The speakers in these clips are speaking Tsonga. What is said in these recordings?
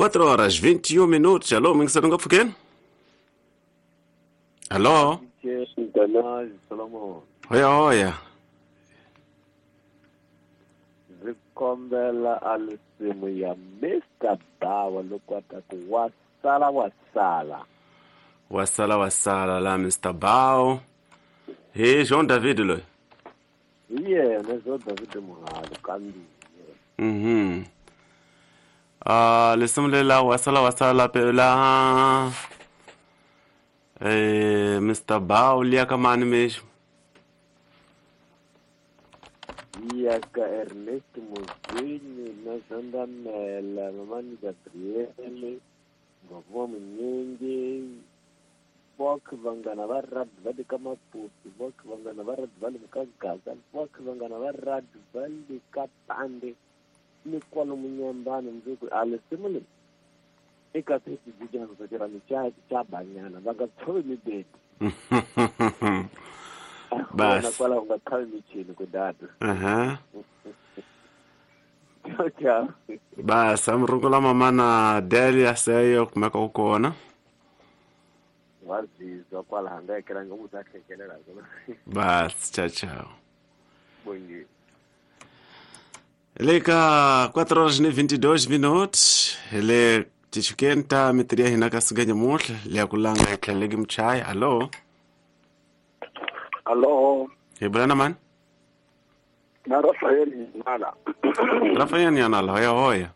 4 horas 21 minutos. Alô, mingiselo nga pfukeni? Alô? Solomon. Hoya hoya. Ndzi kombela a risimu ya Mr. Bawa loko a ta ku wasala wasala. Wasala wasala la Mr. Bao. Hey, Jean David loyi. Hi yena Jean David Muhalo kambiye. Mhm. Ah, lisimu lela wasala wasala pela. Mr. Bao liya ka mani mexo? Ya ka Ernest Muzini na Zandamela, Mamani Gabriele, Ngovo Munyingi, Vok vanghana va rugby va le ka Maputo, Vok vanghana va rugby va le ka Gaza, Vok vanghana va rugby va le ka Pande, ni kwalomu Nyambani ndzi ku a lisimu leri eka setijijanzokera cha banyana va nga tshovi mibedi. Bas. Kwalaho nga tshavi michini ku data. Aha. Ciao ciao. Bas, amrungula mama na Delia seyo kumeka u kona. Wazizwa kwalaho nga ekelanga mu ta hlekelela kona. Bas, ciao ciao. Bongi. Le ka 4 horas e 22 minutos. Le tichukenta mitria hina ka suganya muhle le kulanga etlheleki mchai. Allo. Allo. Hi bula man? Na Rafael Nala. Rafael Nala, hoya hoya.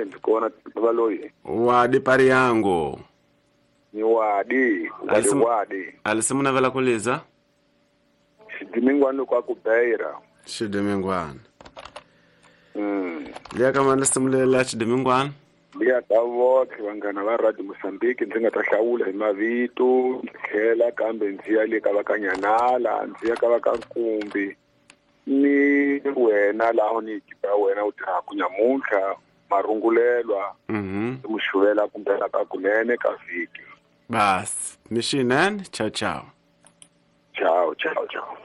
Ndikona baloyi. Wadi pari yangu. Ni wadi, wadi wadi. Alisimuna vela kuliza? Xidimingwana kwa kubeira. Xidimingwana. Liya kama lisimulela xidimingwana. Liya ka vothe vanghana va Radio Mozambique ndzi nga ta hlawula hi mavito, tlhela kambe ndzi ya le ka va ka Nyanala, ndzi ya ka va ka Nkumbi. Ni wena laho ni ekipa wena u tirhaka nyamuntlha marungulelwa. Muxuvela kumbe ka kunene ka vhiki. Bas, mixinen, ciao ciao. Ciao ciao ciao.